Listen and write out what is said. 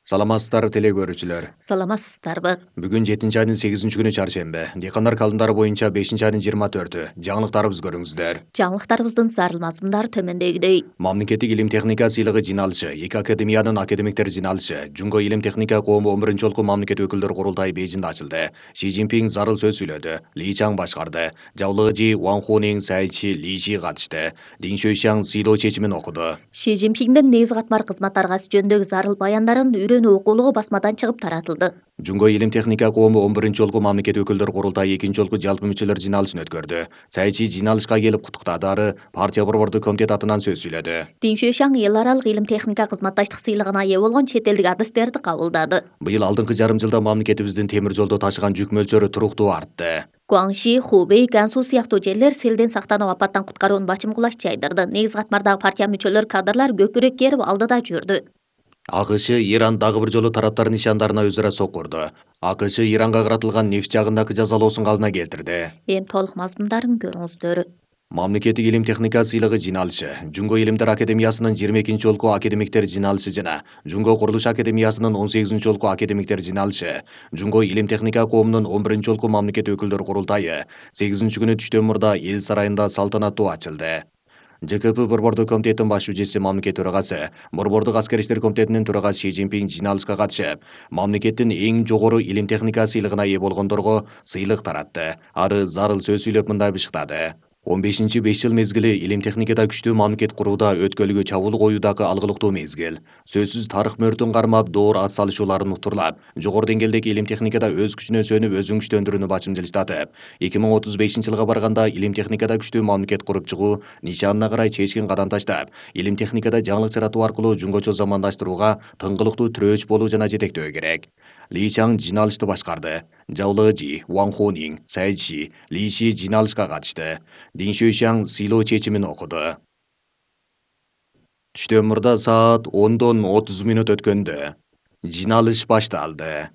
Саламатсыздар теле көрүүчүлөр. Саламатсыздарбы? Бүгүн 7 айдын 8-күнү чаршембе. Дыйкандар календары боюнча 5-айдын 24-ү. Жаңылыктарыбызды көрүңүздөр. Жаңылыктарыбыздын зарыл мазмундары төмөндөгүдөй. Мамлекеттик илим техника сыйлыгы жыйналышы, 2 академиянын академиктери жыйналышы, Жунго илим техника коому 11-жолку мамлекет өкүлдөр курултайы Бейжиңде ачылды. Си Цзиньпин зарыл сөз сүйлөдү. Ли Чаң башкарды. Жаулыжы Ван Хунин, Сайчи, Ли Ши катышты. Дин Шуйшаң сыйлоо чечимин окуду. Си Цзиньпиндин негизи катмар кызмат аргасы жөнүндөгү зарыл баяндарын үйрөнүү окуулугу басмадан чыгып таратылды. Жунго илим техника коому 11-жолку мамлекет өкүлдөр курултайы 2-жолку жалпы мүчөлөр жыйналышын өткөрдү. Сайчи жыйналышка келип куттуктады, ары партия борбордук комитет атынан сөз сүйлөдү. Дин Шуйшаң эл аралык илим техника кызматташтык сыйлыгына ээ болгон чет элдик адистерди кабылдады. Быйыл алдыңкы жарым жылда мамлекетибиздин темир жолдо ташыган жүк мөлчөрү туруктуу артты. Гуаңши, Хубей, Гансу сыяктуу жерлер селден сактанып апаттан куткарууну бачым кулаш жайдырды. Негизи катмардагы партия мүчөлөр кадрлар көкүрөк керип алдыда жүрдү. АКШ Иран дагы бир жолу тараптар нишандарына өзара сокурду. АКШ Иранга каратылган нефть жагындагы жазалоосун калыбына келтирди. Эми толук мазмундарын көрүңүздөр. Мамлекеттик илим техника сыйлыгы жыйналышы, Жунго илимдер академиясынын 22-жолку академиктер жыйналышы жана Жунго курулуш академиясынын 18-жолку академиктер жыйналышы, Жунго илим техника коомунун 11-жолку мамлекет өкүлдөр курултайы 8-күнү Түштөмүрдө эл сарайында салтанаттуу ачылды. ЖКП борбордук комитеттин баш жүлчеси мамлекет төрагасы, борбордук аскер иштер комитетинин төрагасы Си Цзиньпин жыйналышка катышып, мамлекеттин эң жогору илим техника сыйлыгына ээ болгондорго сыйлык таратты. Ары зарыл сөз сүйлөп мындай бышыктады. 15-5 жыл мезгили илим техникада күчтүү мамлекет курууда өткөлгө чабуул коюудагы алгылыктуу мезгил. Сөзсүз тарых мөөртүн кармап, доор ат салышууларын уктурлап, жогору деңгээлдеги илим техникада өз күчүнө сөнүп, өзүн күчтөндүрүүнү бачымдылыштатып, 2035-жылга барганда илим техникада күчтүү мамлекет куруп чыгуу нишанына карай чечкин кадам таштап, илим техникада жаңылык жаратуу аркылуу жунгочо замандаштырууга тыңгылыктуу тирөөч болуу жана жетектөө керек. Ли Чаң жыйналышты башкарды. Жаулыжы Ван Хунин, Сайчи, Ли Ши жыйналышка катышты. Дин Шуйшаң сыйлоо чечимин окуду. Түштөмүрдө саат 10:30 өткөндө жыйналыш башталды.